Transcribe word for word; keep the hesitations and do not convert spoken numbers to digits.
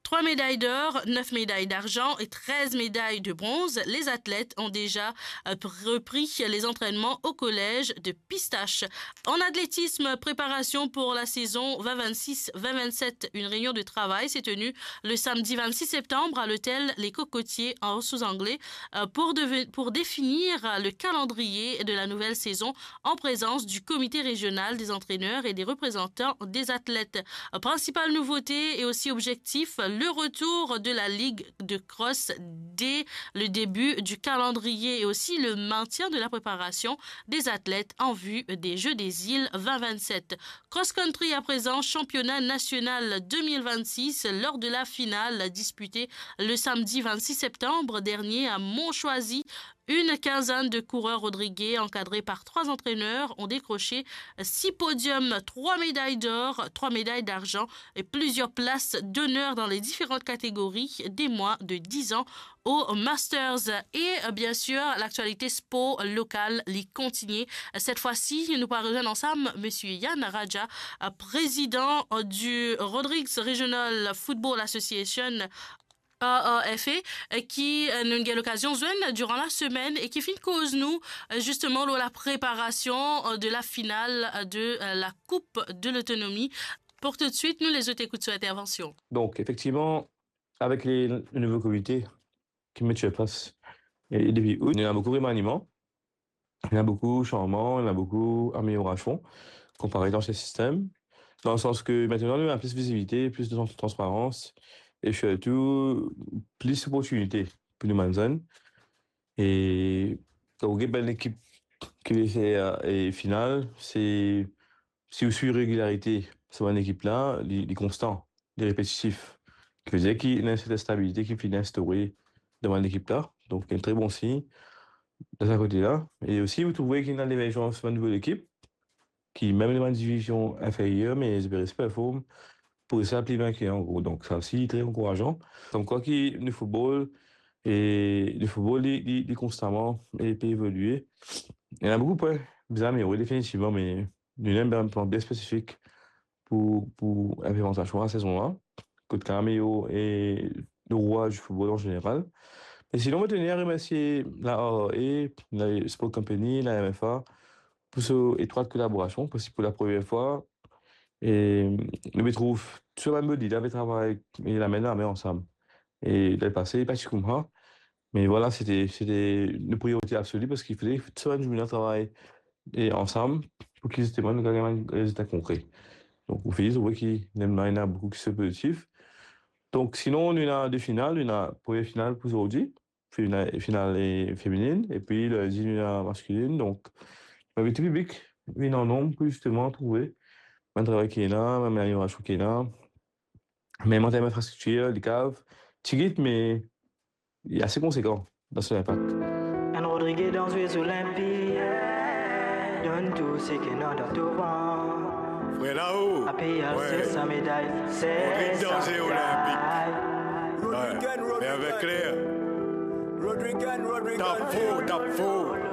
trois médailles d'or, neuf médailles d'argent et treize médailles de bronze, les athlètes ont déjà, euh, repris les entraînements au collège de Pistache. En athlétisme, préparation pour la saison vingt vingt-six vingt vingt-sept, une réunion de travail s'est tenue le samedi vingt-six septembre à l'hôtel Les Cocotiers en Anse aux Anglais, euh, pour deve-, pour définir le calendrier de la nouvelle saison en présence du comité régional des entraîneurs et des représentants des athlètes. Principale nouveauté et aussi objectif, le retour de la ligue de cross dès le début du calendrier et aussi le maintien de la préparation des athlètes en vue des Jeux des Îles vingt vingt-sept. Cross country à présent, championnat national deux mille vingt-six, lors de la finale disputée le samedi vingt-six septembre dernier à Montchoisy. Une quinzaine de coureurs rodriguais, encadrés par trois entraîneurs, ont décroché six podiums, trois médailles d'or, trois médailles d'argent et plusieurs places d'honneur dans les différentes catégories des moins de dix ans au Masters. Et, euh, bien sûr, l'actualité sport locale, li continue. Cette fois-ci, nous pourrons rejoindre ensemble monsieur Yann Raja, euh, président, euh, du Rodrigues Regional Football Association, R R F A, euh, ki, euh, nou gagn lokazion zwenn durant la semaine e ki finn koz nou, euh, justement, lor la préparation, euh, de la finale, euh, de, euh, la Coupe de l'Autonomie. Pour tout de suite, nou les zot ekout so intervention. Donk, efektivman, avek le, le nouvo komite ki met sur plas, e, e depi out, nou ena boukou remaniman, ena boukou sanzman, ena boukou ameliorasion konpare dan se sistem, dan le sans ke aster nou ena plis vizibilite, plis de trans-, transparans e sirtou plis loportinite pou nou bann zenn. E kan ou get bann lekip ki pe fer, e, final, se, si ou swiv regilarite sa bann lekip la, li, li konstan, li repetitif. Ki vedir ki ena enn sertin stabilite ki finn instaure dan bann lekip la. Donk, enn tre bon sign dan sa kote la. E osi, ou trouve ki ena lemerzans bann nouvo lekip, ki mem dan bann divizion inferyer, me zot pe res perform pou sa pli bien ki an gro. Donk, sa osi, tre ankourazan. Konmkwa ki nou football, e nou football, li, li, li konstaman, e pe evolie. Ena boukou pwin bizin ameliore, definitivman, me nou ena enn plan bien spesifik pou, pou inplimentasion la sezon la, kot Cameo e le rwa di football an zeneral. Me sinon, mo teni a remersie la R R A, la Sport Company, la M F A, pou so etrwat kolaborasion, paski pou la premie fwa, e, nou pe trouv tou sa bann body la pe travay, e, lame dan lame ansam. E dan lepase, pa ti koumsa, me vwala, se te, se te nou priorite absoli, paski fode tou sa bann dimoun la travay, e, ansam, pou ki zisteman nou gagn enn rezilta konkre. Donk, ou fini trouve ki ena, ena boukou ki se pozitif. Donk, sinon, nou ena de final, nou ena premie final pou zordi, final, final, e, femininn, epi lindi nou ena maskilinn. Donk, nou invit tou piblik vinn an nonb pou zisteman trouve bann travay ki ena, bann ameliorasion ki ena, mem an term infrastriktir, likav, tigit, me li ase konsekan dan so linpak. Enn Rodrigues dan Zwe Zolinpik, donn tou seki ena dan to vant. Frer Lao, ape al, wi, sers sa meday, sers sa meday. Rodrigues dan Zwe Zolinpik. Wi, me avek kler. Tap for, tap for.